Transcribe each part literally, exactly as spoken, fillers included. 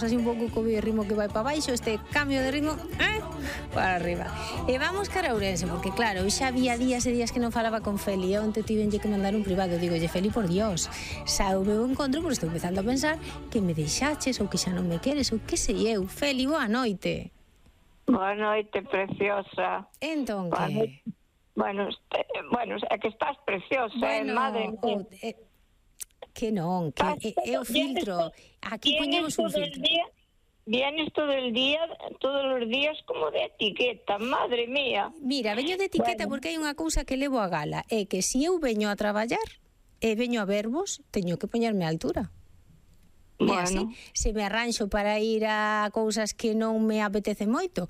así un pouco co ritmo que vai para baixo, este cambio de ritmo eh, para arriba. E vamos cara a Ourense, porque claro, xa había días e días que non falaba con Feli, e onte tivenlle que mandar un privado, digo, lle Feli, por Dios, xa o meu encontro, porque estou empezando a pensar que me deixaches ou que xa non me queres, ou que sei eu. Feli, boa noite. Boa noite, preciosa. Entón, que? Bueno, este, bueno, é que estás preciosa, bueno, eh, madre mía. Oh, eh, que non, que é o filtro. Aquí poñemos un filtro. Día, vienes todo el día, todos os días como de etiqueta, madre mía. Mira, veño de etiqueta bueno. Porque hai unha cousa que levo a gala, é que se eu veño a traballar e veño a verbos, teño que poñerme a altura. Bueno. É así, se me arranxo para ir a cousas que non me apetece moito,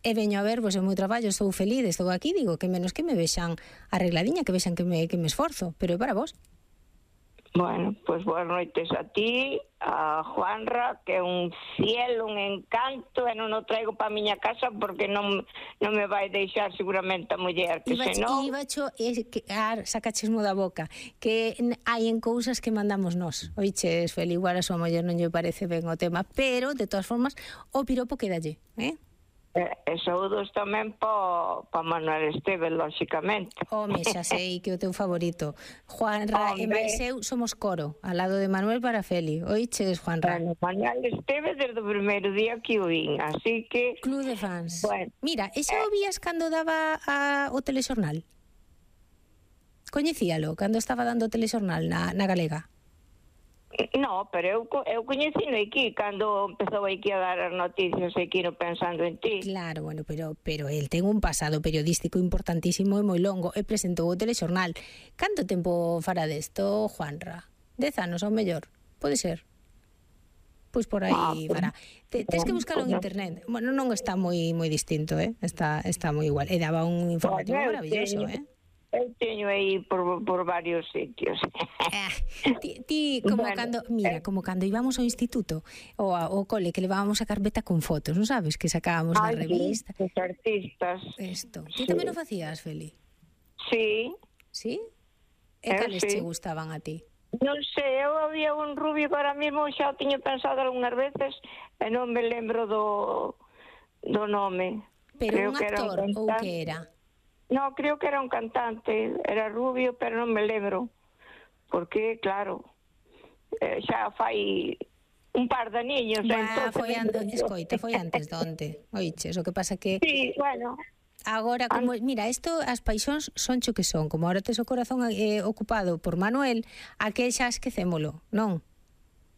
e veño a verbos e o meu traballo, estou feliz, estou aquí, digo que menos que me vexan arregladiña, que vexan que me, que me esforzo, pero é para vos. Bueno, pois pues boas noites a ti, a Juanra, que é un cielo, un encanto, e non o traigo para a miña casa porque non, non me vai deixar seguramente a muller, que se non... Iba cho, eh, que, ah, sacachismo da boca, que hai en cousas que mandamos nós. Oiches, Feli, igual a súa muller non lle parece ben o tema, pero, de todas formas, o piropo quedalle, eh? E, e saúdos tamén pa, pa Manuel Esteves, lóxicamente. Home, xa sei que o teu favorito. Juanra e máis eu somos coro, ao lado de Manuel para Feli. Oiches, Juanra? Bueno, Manuel Esteves desde o primeiro día que o vin, así que... Club de fans. Bueno, mira, e xa o vías cando daba a, o telexornal? Coñecíalo, cando estaba dando o telexornal na, na Galega? No, pero eu, eu coñecino aquí cando empezou aquí a dar as noticias aquí no Pensando en Ti. Claro, bueno, pero pero el ten un pasado periodístico importantísimo e moi longo e presentou o telexornal. Canto tempo fará desto, Juanra? Dez anos ao mellor, pode ser? Pois por aí ah, fará. Te, tes que buscalo en internet. Bueno, non está moi moi distinto, eh? Está está moi igual. E daba un informativo bueno, maravilloso, eh? Eu teño aí por, por varios sitios. Ah, ti, ti como bueno, cando, mira, eh, como cando íbamos ao instituto ou ao cole que levábamos a carpeta con fotos, non sabes? Que sacábamos na revista. Os artistas. Isto. Ti sí. Tamén o facías, Feli? Sí. Sí? E cales sí. Che gustaban a ti? Non sei, eu había un rubio que ahora mesmo xa tiño pensado algunhas veces e non me lembro do, do nome. Pero creo un actor que ou que era? No, creo que era un cantante, era rubio, pero non me lembro, porque, claro, eh, xa fai un par de niños. Bah, foi antes, escoita, foi antes de onte, oiches, o que pasa que... Sí, bueno... Agora, como, mira, isto, as paixóns son cho que son, como ahora tes o corazón eh, ocupado por Manuel, aquel xa esquecémolo, non?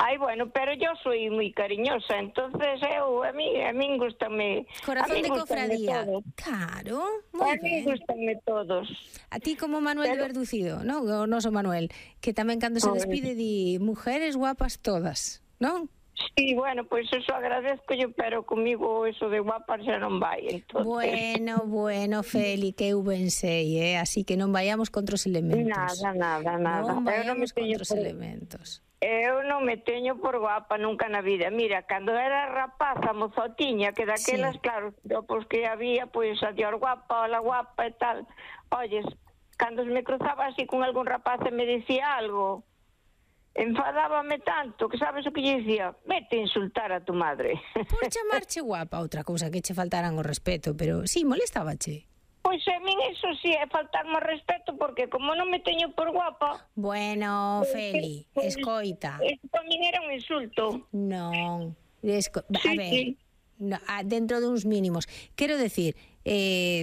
Ai, bueno, pero yo soy moi cariñosa, entonces eu, a mí, a mí gustame... Corazón de cofradía. Claro, moi ben. A mí gustame todos. A ti como Manuel pero... de Verducido, non? O noso Manuel, que tamén cando se despide di mujeres guapas todas, non? Sí, bueno, pois pues eso agradezco yo, pero comigo eso de guapas xa non vai, entonces... Bueno, bueno, Feli, que eu ben sei, eh? Así que non vayamos contra os elementos. Nada, nada, nada. Non vayamos contra os por... elementos. Eu non me teño por guapa nunca na vida. Mira, cando era rapaza, mozotiña, que daquelas, sí. Claro, pois que había, pois, a dior guapa, la guapa e tal. Oyes, cando me cruzaba así con algún rapaz e me dicía algo, enfadábame tanto, que sabes o que lle dicía? Vete a insultar a tu madre. Por chamarche guapa, outra cousa que che faltaran o respeto, pero sí, molestábache. Pois a min eso sí é faltarme respeto, porque como non me teño por guapa... Bueno, Feli, pues, escoita. Eso para min era un insulto. Non, esco... a sí, ver, sí. No, dentro duns mínimos. Quero decir, eh,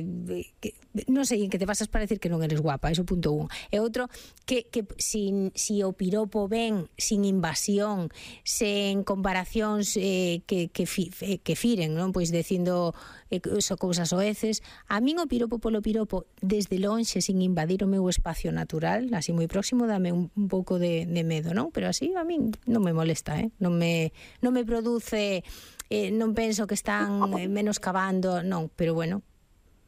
que, non sei en que te pasas para decir que non eres guapa, eso punto un. E outro, que, que sin, si o piropo ven sin invasión, sen comparacións eh, que, que, fi, que firen, non? Pois dicindo eh, so cousas oeces. A min o piropo polo piropo, desde lonxe, sin invadir o meu espacio natural, así moi próximo, dame un, un pouco de, de medo, non? Pero así a min non me molesta, eh? Non me, non me produce... Eh, non penso que están eh, menoscabando, non, pero bueno,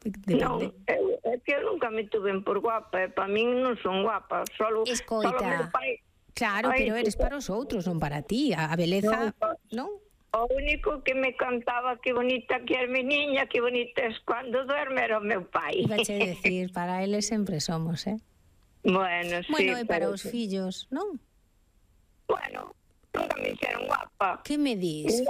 depende. Non, é que eu nunca me tuven por guapa, e para min non son guapa, solo... Escoita, solo meu pai... Claro, Ay, pero eres para os outros, non para ti, a beleza, non? O único que me cantaba que bonita que é mi niña, que bonita es cuando duerme, era o meu pai. Ibache decir, para eles sempre somos, eh? Bueno, sí. Bueno, e para os fillos, non? Bueno... Nunca me hicieron guapa. Que me dis?